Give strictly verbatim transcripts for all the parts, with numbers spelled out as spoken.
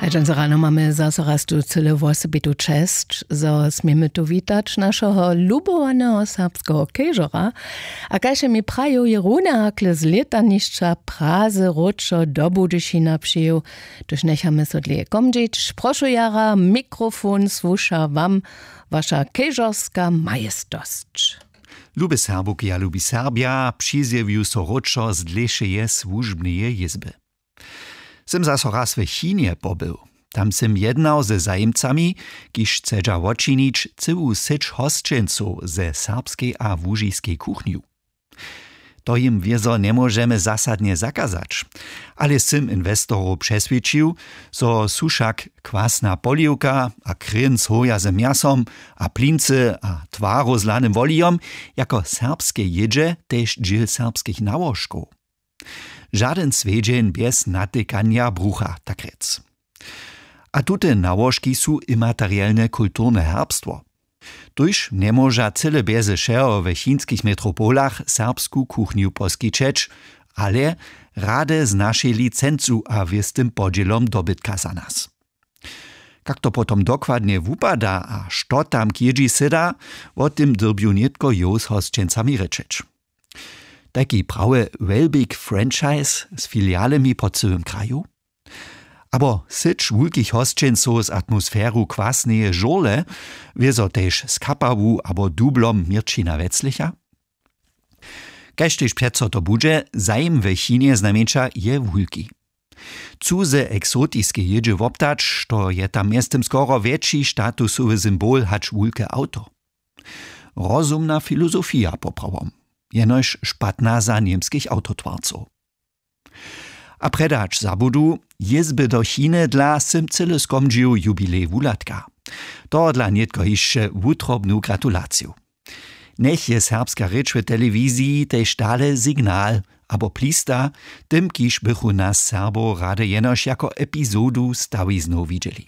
A dźensa rano mamy zaso raz tu cyle wosebitu česć, zo směmy tu witać našeho lubowaneho serbskeho kežora. A kaž je mi praju, je runahakle z lětanišća praze wróćo do budyšina přijěł. Tuž njechamy so dlěje komdźić, prošu jara, mikrofon słuša wam, waša kežorska majestosć. Lube Serbowki a lubi Serbja, přizjewju so wróćo z dlěšeje słužbneje jězby. Sym zaso raz w Chinje pobył. Tam sym jednał ze zajimcami, kiž chcedźa wočinić cyłu syć hosćencow ze serbskej a łužiskej kuchnju. To jim wězo njemóžemy zasadnje zakazać. Ale sym inwestorow přeswědčił, zo su wšak kwasna poliwka a kryn z hoja z mjasom a plincy a twarow z hlanym wolijom jako serbske jědźe tež dźěl serbskich nałožkow. Žadyn swjedźeń bjez natykanja brucha, tak rjec. A tute nałožki su imaterielne kulturne herbstwo. Tuž njemóža cyle bjeze wšeho we chinskich metropolach serbsku kuchnju poskićeć, ale rady z našej licencu a wěstym podźělom dobytka za nas. Kak to potom dokładnje wupada a što tam k jědźi syda, wo tym dyrbju nětko jow z hosćencami rěčeć. Tajki prawy wellbig franchise z filialemi po cyłym kraju? Abo syć wulkich hosćencow z atmosferu kwasneje žurle, wězo tež z kapawu abo dublom měrćina weclicha? Kaž tež přeco to budźe, zajim w Chinje znajmjeńša je wulki. Chcu ze eksotiske jědźe woptać, što je tam mjeztym skoro wjetši statusowy symbol hač wulke awto. Rozumna filozofija poprawom, jenož špatna za němskich awtotwarcow. A prjedy hač zabudu, jězby do Chiny dla sym cyle skomdźił jubilej wuhladka. Tohodla nětko hišće wutrobnu gratulaciju. Njech je serbska rěč w telewiziji tež dale signal abo plista tym, kiž bychu nas Serbow rady jenož jako epizodu stawiznow widźeli.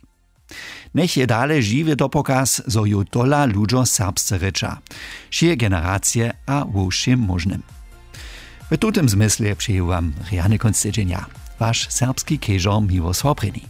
Njech je dale žiwy dopokaz, zo ju tola ludźo serbsce rěča, wšě generacije a wo wšěm móžnym. W tutym zmysle přeju wam rjany kónc tydźenja, waš serbski kežor Miłosław Prěni.